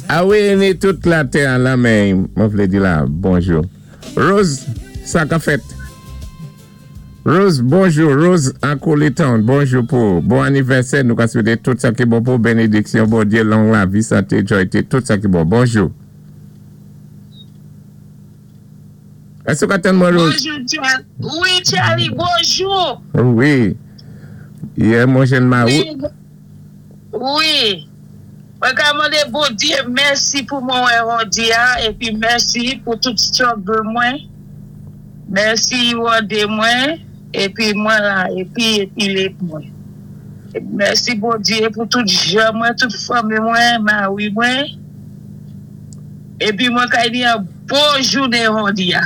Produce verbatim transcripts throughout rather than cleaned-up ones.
A wi, ni tout latè an la, men mwen vlé di la, bonjou. Rose, sa ka fèt? Rose, bonjou. Rose an Town, bonjou pou bon anivèsè. Nou ka swété tout sa ki bon pou bénédiksyon, Bondyé, long lavi, santé, joyté, tout sa ki bon. Bonjou. Èske ou ka tann mwen, Rose? Bonjou, Charlie. Wi, Charlie, bonjou. Wi. Yè, mwen jèn ma Wi. Wi. Mwen ka mandé Bondyé mèsi pou mwen wè jòdi a épi mèsi pou tout struggle mwen. Mèsi wòdé mwen épi mwen la épi épi lé mwen. Mèsi Bondyé pou tout jan mwen, tout fanmi mwen, mari mwen. Épi mwen ka di yon bon jounen jòdi a.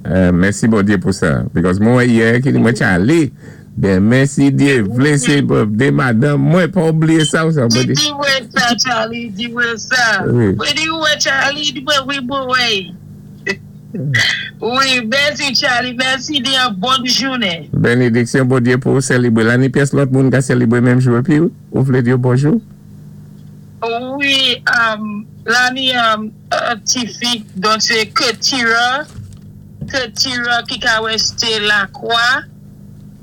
Euh, mèsi Bondyé pou sa. Because mwen yè ki di mwen Charlie, ben mèsi Dyé, vlé sé birthday madanm mwen, pa oubliyé sa ou sa. Di di mwen sa, Charlie, di mwen sa. Wi. Mwen di wè Charlie, di mwen wi mwen wè. Wi, mèsi Charlie, mèsi di yon bon jounen. Bénédiksyon Bondyé pou sélébwé. La ni pyès lòt moun ka sélébwé menm jou épi ou vlé di yo bonjou? Wi, um, la ni um, uh, ti fi, donk sé Ketira, Ketira ki ka wésté Lakwa,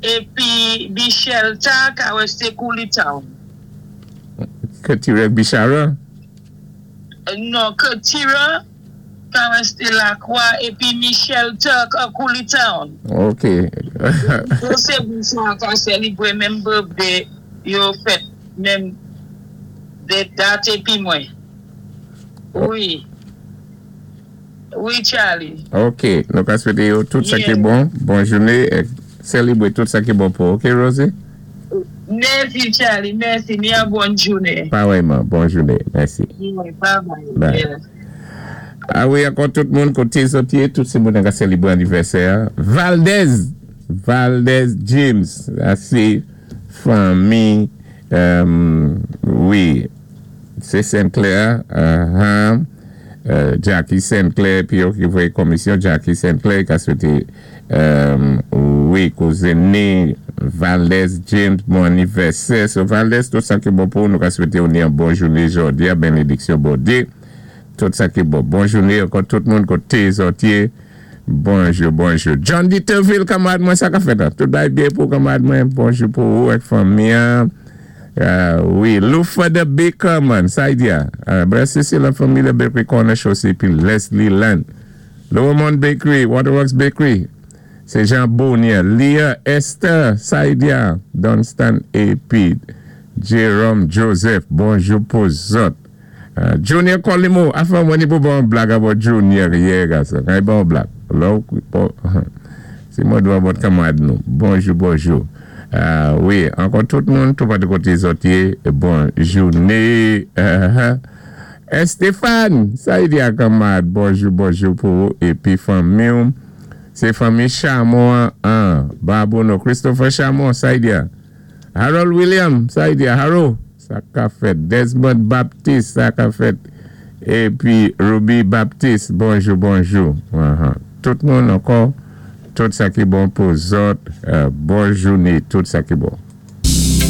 épi Michel Ta ka wésté Town. Ketira Bichara? Non, Ketira ka wésté Lakwa, épi Michel Ta ka Town. Ok. Donk sé moun sa ka sélébwé menm birthday yo fèt menm de dat épi mwen. Wi. Wi, Charlie. Ok, nou ka swété yo tout sa ki Yeah. bon, bon jounen, é sélébwé tout sa ki bon pou. Ok, Rosie? Mèsi, Charlie, mèsi. Ni yon bon jounen. Parèyman, bon jounen. Mèsi. Wi, bye bye. Bye. Yeah. A wi, ankò tout moun koté zòt yé, tout sé moun ka sélébwé anivèsè. Valdez, Valdez James, sa sé fanmi, euh, wi, sé Sinclair, uh-huh, euh, Jackie Sinclair, pi yo ki voyé komisyon Jackie Sinclair, ka swété, euh, wi, kouzen ni Valdez James, bon anivèsè. So Valdez, tout sa ki bon pou nou ka swété ou ni yon bon jounen jòdi a, bénédiksyon Bondyé. Tout sa ki bon. Bon jounen, ankò tout moun koté zòt yé. Bonjou, bonjou. John Dieterville, kanmarad mwen, sa ka fèt la? Tout bagay byen pou kanmarad mwen. Bonjou pou ou ak fanmi. Euh, wi, Lufa the Baker, man. Sa y di a. Euh, bref, sé la fanmi the Bakery Corner Chaussée, pi Leslie Land. Lower Mount Bakery, Waterworks Bakery. Sé Jean Bonnier. Leah Esther, sa y di a. Dunstan A P. Jerome Joseph, bonjou pou zòt. Uh, Junior Colimo, afa mwen ni pou bon blag about Junior yè, gason. Kay bon blag. Lò, bon, si mwen dwa bot kanmarad nou. Bonjou, bonjou. Uh, wi, ankò tout moun, tout patou koté zòt yé, bon jounen. Uh, -huh. Stéphane, sa y di a kanmarad, bonjou, bonjou pou ou, épi fanmi ou. Sé fanmi Chamon an, Babouno, Christopher Chamon, sa y di a. Harold William, sa y di a, Harold, sa ka fèt. Desmond Baptiste, sa ka fèt. Épi Ruby Baptiste, bonjou, bonjou. Uh-huh. Tout moun ankò, tout sa ki bon pou zòt, euh, bon jounen, tout sa ki bon.